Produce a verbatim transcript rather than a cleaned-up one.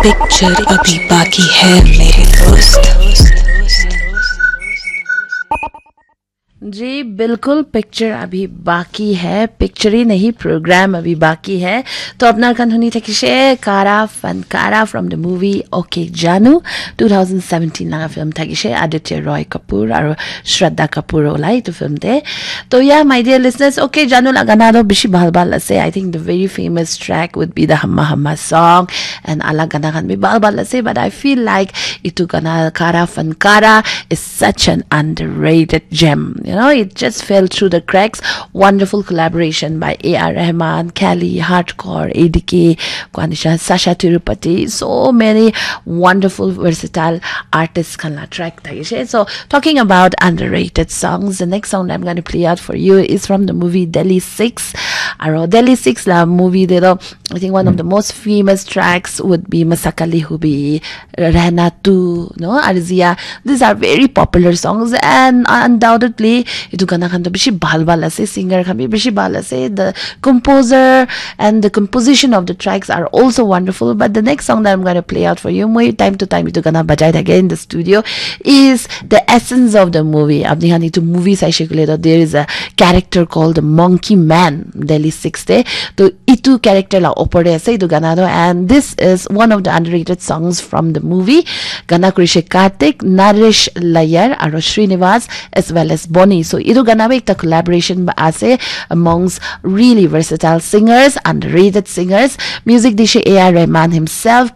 पिक्चर अभी बाकी है मेरे दोस्त। जी बिल्कुल, पिक्चर अभी बाकी है, पिक्चर ही नहीं, प्रोग्राम अभी बाकी है। तो अपना खान हुनी थकिशे Kaara Fankaara from the movie OK Janu, two thousand seventeen laga फिल्म थकिशे आदित्य रॉय कपूर और श्रद्धा कपूर ओलाई तो फिल्म दे। तो या my dear listeners, OK Janu la gana to bishi bhal bhal ase। I think the very famous track would be the Hamma Hamma song and ala gana khan bi bhal bhal ase, but I feel like itu gana Kara Fankara is such an underrated gem. You know, it just fell through the cracks. Wonderful collaboration by A R Rahman, Kelly, Hardcore, A D K, Kwanisha, Sasha Tirupati. So many wonderful, versatile artists khan la track thakishe. So talking about underrated songs, the next song that I'm going to play out for you is from the movie Delhi Six. Aro Delhi Six la movie de to, I think one of the most famous tracks would be Masakali Hubi, Rehna Tu, no, Arzia. These are very popular songs and undoubtedly itu gana khan to bishi bhal bhal ase, singer khan bi bishi bhal ase. The composer and the composition of the tracks are also wonderful. But the next song that I'm going to play out for you, moi time to time itu gana bajai thake in the studio, is the essence of the movie. Apni khan itu movie saishe koile to, there is a character called the Monkey Man, Delhi Six te. To itu character la opor te ase itu gana to, and this is one of the underrated songs from the movie. Gana kurishe Karthik, Naresh Layar, aro Srinivas, as well as Bonnie. So itu gana bi ekta collaboration ba ase amongst really versatile singers, underrated singers. Music dishe A R Rahman himself,